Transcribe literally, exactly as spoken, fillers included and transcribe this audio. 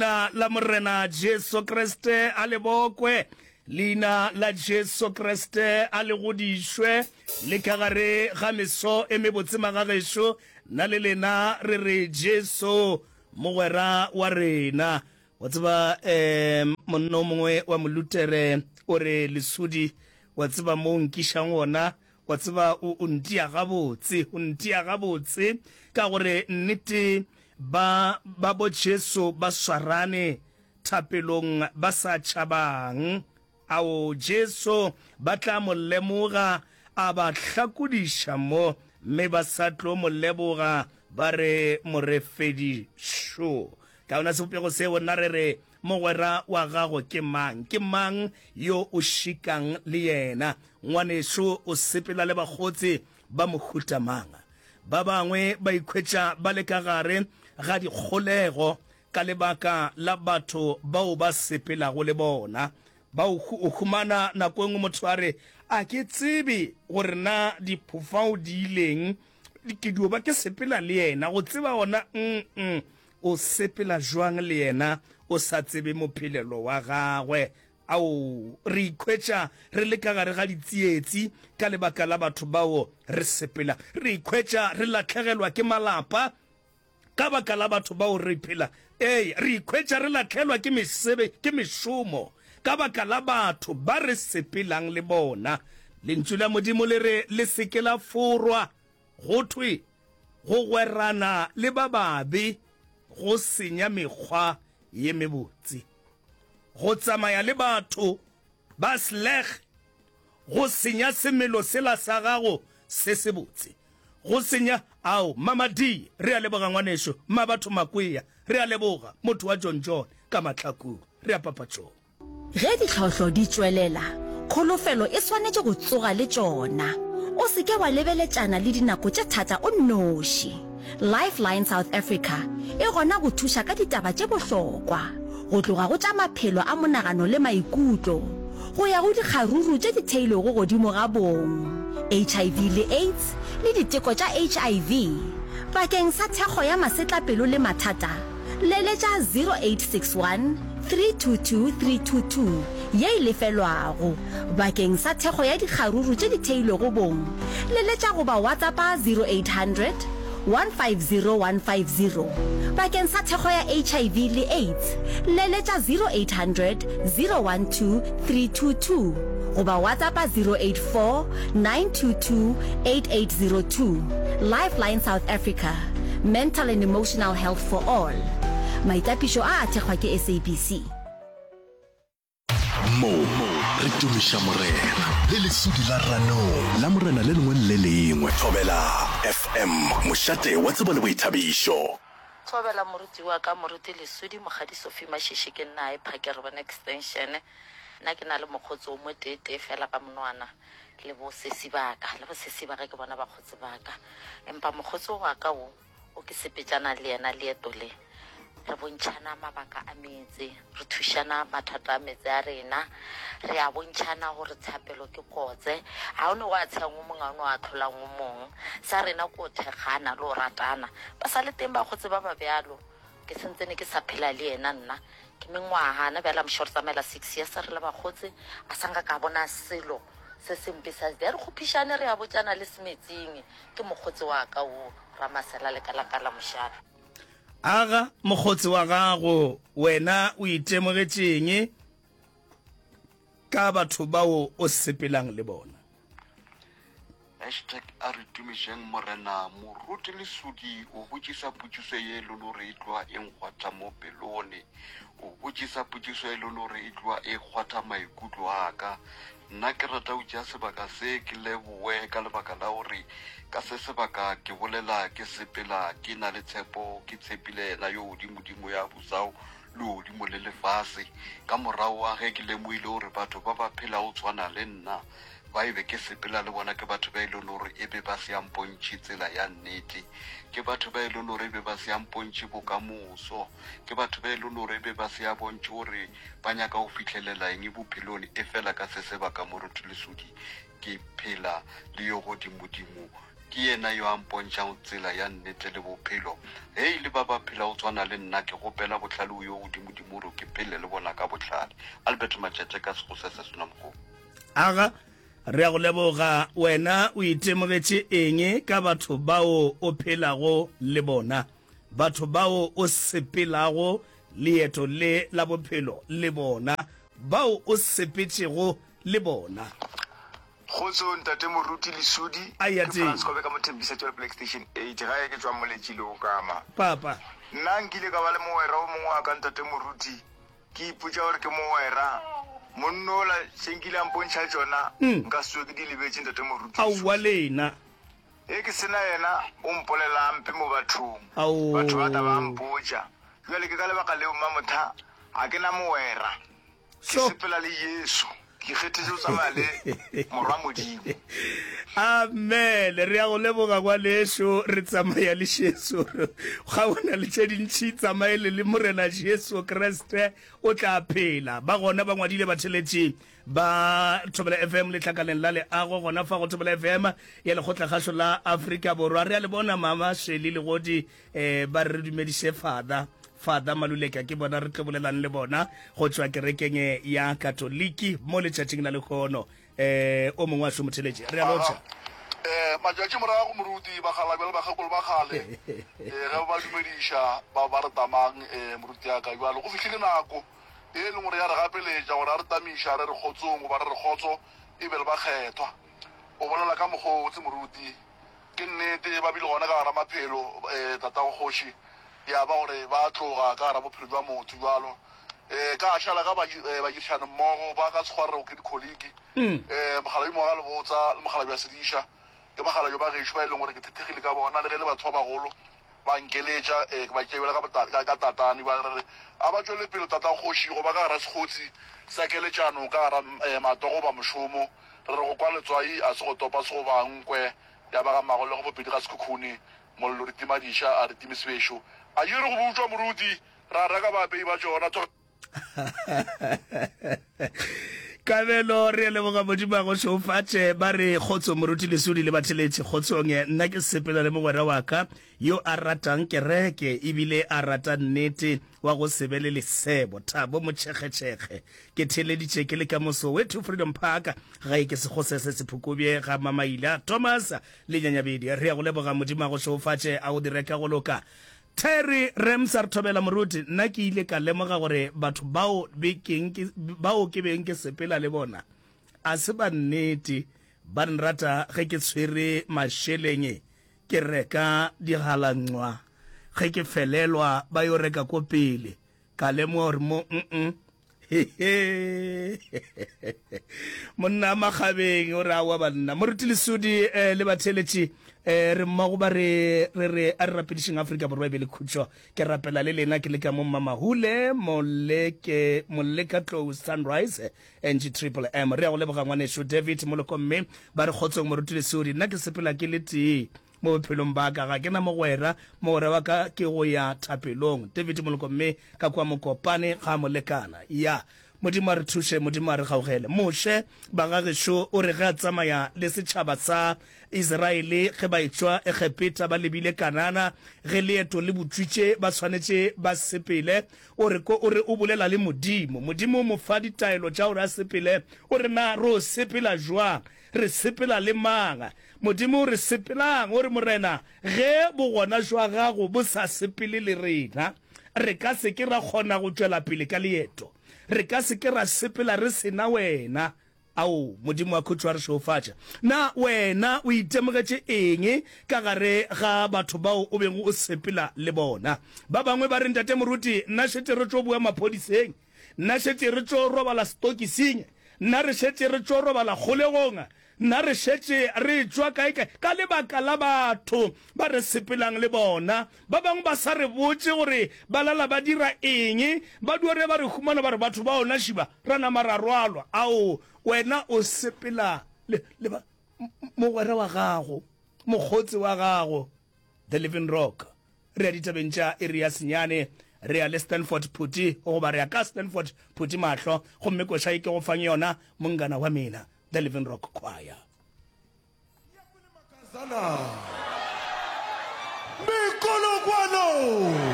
Leina la Morena Jesu Kriste a le bokwe, Leina la Jesu Kriste a le godišwe, le ka gare ga meso e mebotse magagešo, nna le lena re re Jesu mogwera wa rena. Wa tseba, um monna o mongwe wa Molutere o re, Lesodi, wa tseba mo o nkišang gona? Wa tseba, o, o ntia gabotse, o ntia gabotse, ka gore nnete Ba ba bo Jesu ba swarane thapelong ba sa tšhabang. Ao, Jesu ba tla mo lemoga a ba hlakodiša mo, mme ba sa tlo mo leboga ba re Morefedi šo. Ka yona sebopego seo nna re re, Mogwera wa gago ke mang? Ke mang yo o šikang le yena? Ngwanešo, o sepela le bakgotsi ba mohuta mang? Ba bangwe ba ikhwetša ba le ka gare ga dikgolego ka lebaka la batho bao ba sepelago le bona. Ba o humana nako e nngwe motho a re, A ke tsebe gore na diphofao di ileng, ke dio ba ke sepela le yena. Go tseba gona, mm, o sepela jwang le yena o sa tsebe mophelelo wa gagwe? Ao, re ikhwetša re le ka gare ga ditsietsi ka lebaka la batho bao re sepela. Re ikhwetša re lahlegelwa ke malapa ka baka la batho bao re phela. Ee, re ikhwetša re lahlelwa ke mesebe, ke mešomo ka baka la batho ba re sepelang le bona. Lentšu la Modimo le re le se ke la forwa. Go thwe, Go gwerana le ba babe go senya mekgwa ye mebotse. Go tsamaya le batho ba sleg go senya semelo sela sa gago se sebotse. Go senya, ao, Mama Dee, re a leboga ngwanešu, Mmabatho Makwea, re a leboga, motho wa John John ka Mahlakung, re a papatšong. Ge ditlhohlo di tšwelela, kholofelo e swanetše go tsoga le tšona. O se ke wa lebeletšana le dinako tše thata o nnoši. Lifeline South Africa e gona go thuša ka ditaba tše bohlokwa, go tloga go tša maphelo a monagano le maikutlo, go ya go dikgaruru tše di theilwego godimo ga bong, H I V le AIDS le diteko tša H I V. Bakeng sa thekgo ya masetlapelo le mathata, Leletša zero eight six one three two two three two two ye e lefelwago. Bakeng sa thekgo ya dikgaruru tše di theilwego bong, leletša goba WhatsAppa zero eight hundred one five zero one five zero. Bakeng sa thekgo ya H I V le AIDS, leletša zero eight hundred zero one two three two two goba WhatsAppa zero eight four nine two two eight eight zero two. Lifeline South Africa. Mental and Emotional Health for All. Maitapišo a a thekgwa ke S A B C. Mo re tumiša Morena le lesudi la ranong la Morena le lengwe le le lengwe. Thobela F M, mošate wa tsebo le boithabišo. Thobela moruti wa ka, Moruti Lesudi Mokgadi Sophie Mashishi ke nna e Phake re bone extension. Nna ke na le mokgotsi o mo tee tee fela ka monwana le bo sesi ba ka, le bo sesi ba ka ke bona bakgotsi ba ka. Empa mokgotsi wa ka wo o ke sepetšana le yena leeto le, re bontšhana mabaka a meetse, re thušana mathata a meetse a rena, re a bontšhana gore tshapelo ke kotse, ga o ne wa tshehang o mongwe, ga o ne wa ahlolang o mong. Sa rena ke go thekgana le go ratana. Ba sa le teng bakgotsi ba ba bjalo. Ke sentsene ke sa phela le yena nna ke mengwaga na bjale I'm sure re tsamaela six years re le bakgotsi a sa nka ka bona selo se sempe sa re kgophišane re a botšana le semetsing ke mokgotsi wa ka wo Ramasela Lekalakala mošate. Aga mokgotsi wa gago wena o itemogetšeng ka batho bao o sepelang le bona? Hashtag A re tumišeng Morena. Moruti Lesodi o botšisa potšiso ye e leng gore e tloga e nkgwatha mo pelone. O botšisa potšiso e leng gore e tloga e kgwatha maikutlo a ka. Nna ke rata go tšea sebaka se ke leboe ka lebaka la gore ka se sebaka ke bolela ke sepela ke na le tshepo, ke tshepile yena yo godimodimo ya busago legodimo le lefase. Ka morago ga ge ke lemogile gore batho ba ba phelago tshwana le nna ba e be ke sepela le bona ke batho ba e leng gore e be ba se a mpontšhe tsela ya nnete, ke batho ba e leng gore e be ba se a mpontšhe bokamoso, ke batho ba e leng gore e be ba se a bontšhe gore ba nyaka go fihlelela eng bophelong. Efela ka se sebaka, Moruti Lesodi, ke phela le yo godimodimo Ke yena yo a mpontšhago tsela ya nnete le bophelo. Ge e le ba ba phelago tshwana le nna, ke kgopela bohlale go yo godimodimo gore ke phele le bona ka bohlale. Albert Matšatše ka Sekgosese Senamokgomo. Aga, re a go leboga. Wena o itemogetše eng ka batho bao o phelago le bona, batho bao o sepelago leeto le la bophelo le bona, bao o sepetšego le bona? Kgotso ntate Moruti Lesudi, Aeya ke tee. Frans Kobe ka mo Thembisa Tšwelopele Extension eight, gae ke tšwa Moletši le Okama. Papa. Nna nkile ka ba le mogwera o mongwe wa ka ntate Moruti, ke ipotša gore ke mogwera, monno ola tše nkile a mpontšha tšona nka se tsoge ke di lebetše ntate Moruti Aowa Lesudi. lena. Ge ke se na yena o mpolela mpe mo bathong, batho ba tla ba Ao. mpotša. Bjale ke ka lebaka leo Mmamotha ga ke na mogwera. Ke So. sepela le Jesu. Ke ikgethetše go tsamaya le Morwa Modimo. Amen. Re a go leboga ngwanešu. Re tsamaya le Jesu. Ga o na le tše dintši, tsamaele le Morena Jesu Kriste, o tla phela. Ba gona ba ngwadile batheletši ba Thobela F M letlakaleng la leago gona fa go Thobela F M ya Lekgotlakgašo la Afrika Borwa. Re a le bona Mama Shirley Legodi, eh, ba re re dumediše Father. Father Maluleka ke bona re tlo bolelang le bona go tšwa kerekeng ya Katoliki mo letšatšing la lehono. Eh, o mongwe wa šo motheletši. Re a lotšha. Eh, matšatši morago moruti bakgalabje le bakgekolo ba kgale, eh, ge ba dumediša ba ba re tamang, eh, moruti ya ka. Jwale go fihlile nako e leng gore ya re gapeletša gore a re tamiša re re kgotsong goba re re kgotso e be le bakgethwa. O bolela ka mokgwa o botse moruti, ke nnete ba bile gona ka gara maphelo, eh, tatago kgoši ya ba gore ba tloga ka gara bophelo jwa motho jwalo. Eh, ka šala ka eh, badirišane mmogo ba ka Sekgwa re ke dikholiki, eh, mogalabi moga le botsa le mogalabi wa sediša ke mogalabi ba gešo ba e leng gore ke thethegile ka bona, le ge le batho ba bagolo ba nkeletša, eh, ke ba tšeela ka bota-, ka, ka tatane ba re re a ba tšwele pele tata kgoši go ba ka gara sekgotsi sa keletšano ka gara, eh, matogo ba mošomo. Re re go kwa letswai a se go topa se go ba nkwe ya ba ga mmago le go bopedi ga sekhukhune mollo re tima diša a re time sebešo a ye re go butšwa moruti ra reka baapei ba tšona. Kabelo re leboga Modimo a go šofatše. Ba re kgotso moruti Lesudi le batheletši kgotsong. Nna ke sepela le mogwera wa ka yo a ratang kereke ebile a rata nnete, wa go se be le lesebo, Thabo Motšhekgetšhekge. Ke theleditše ke le ka mo Soweto Freedom Park, gae ke Sekgosese Sephukubje ga Mamaila Thomas le Nyanyabedi. Re ya go leboga Modimo a go šofatše a go dire ka go loka. Terry Rams a re thobela moruti, nna ke ile ka lemoga gore batho bao be keng ke, bao ke beng ke sepela le bona a se ba nnete, ba nrata ge ke tshwere mašeleng ke reka digalancwa, ge ke felelwa ba yo reka ko pele, ka lemoga gore mo mm monna makgabeng o re awa banna. Moruti Lesudi eh, le batheletši eh, re mmogo ba re re re a re rapedišeng Afrika Borwa e be le khutšo. Ke rapela le lena ke le ka mo Mmamahule Moleke Moleka Tlou Sunrise N G Triple M. Re ya go leboga ngwanešu David Moloko mme ba re kgotsong moruti Lesudi. Nna ke sepela ke le tee mo bophelong ba ka, ga ke na mogwera, mogwera wa ka ke go ya thapelong. David Moloko mme ka kwa Mokopane ga molekana. Ya Modimo a re thuše, Modimo a re gaugele. Moshe bagagešo o re ge a tsamaya le setšhaba sa Israele ge ba etšwa Egepeta ba lebile Kanana, ge leeto le botšwitše ba swanetše ba sepele, o re ko o re o bolela le Modimo. Modimo o mo fa ditaelo tša gore a sepele, o re na ro sepela jwang, re sepela le mang? Modimo o re sepelang, o re Morena, ge bogona jwa gago bo sa sepele le rena, re ka se ke ra kgona go tšwela pele ka leeto. Re ka se ke ra sepela re sena wena. Ao, Modimo wa khutšo a re šeofatše. Na wena o itemogetše eng ka gare ga batho bao o bego o sepela le bona? Ba bangwe ba re, Ntate Moruti, nna šetše re tšo boa maphodiseng. Nna šetše re tšo robala setokising. Nna re šetše re tšo robala kgolegong. Nna re šetše re tšwa kae kae ka lebaka la batho ba re sepelang le bona. Ba bangwe ba sa re botše gore ba lala ba dira eng, ba dio re ba re humana ba re batho ba ona šiba ra nama ra rwalwa. Ao, wena o sepela le, le ba, mogwera wa gago, mokgotsi wa gago, The Living Rock. Re ya ditabeng tša iri ya senyane, re ya le Stanford Phuti, goba re ya ka Stanford Phuti mahlo, gomme koša ye ke go fang yona, mongana wa mina, The Living Rock Choir. Sana. Mekolokwano.